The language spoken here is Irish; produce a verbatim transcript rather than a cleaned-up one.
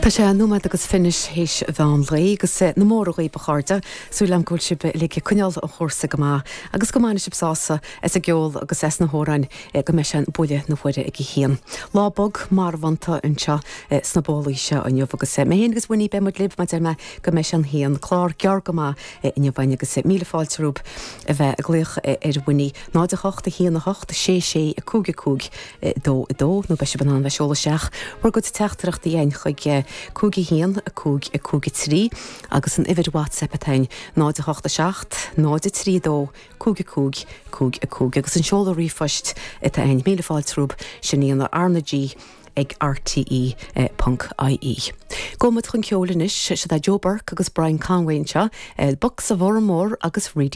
Tá sé nóiméad agus fiche théis mheán lae agus na mór dhaoibh a chairde súil agam go bhfuil sibh uilig ag coinneáil an chúrsa go maith agus go mbainfidh sibh sásamh as an gceol agus as na hamhráin go mbeidh sé buille na huaire ag a haon. Lá bog marbhánta anseo sna bólaí seo inniu agus mé féin agus Winnie beidh muid libh mar a deir mé go mbeidh sé an haon clár gearr go maith inniu againn agus míle fáilte romhaibh a bheith ag glaoch ar Winnie náid a hocht a haon a hocht sé sé a cúig a cúig dó a dó nó beidh sibh in ann bheith seoladh isteach bhur gcuid teachtaireachtaí againn chuig cúig a haon a cúig a cúig a trí agus an uimhir WhatsApp atá againn náid a hocht a seacht náid a trí dó cúig a cúig cúig a cúig agus an seoladh ríomhphoist atá againn míle fáilte romhaibh sin í an R na G ag RTE ponc IE. Gabhfaidh muid chun ceoil anois sé Joe Burke agus Brian Conway anseo, Bucks of Oranmore agus Reedy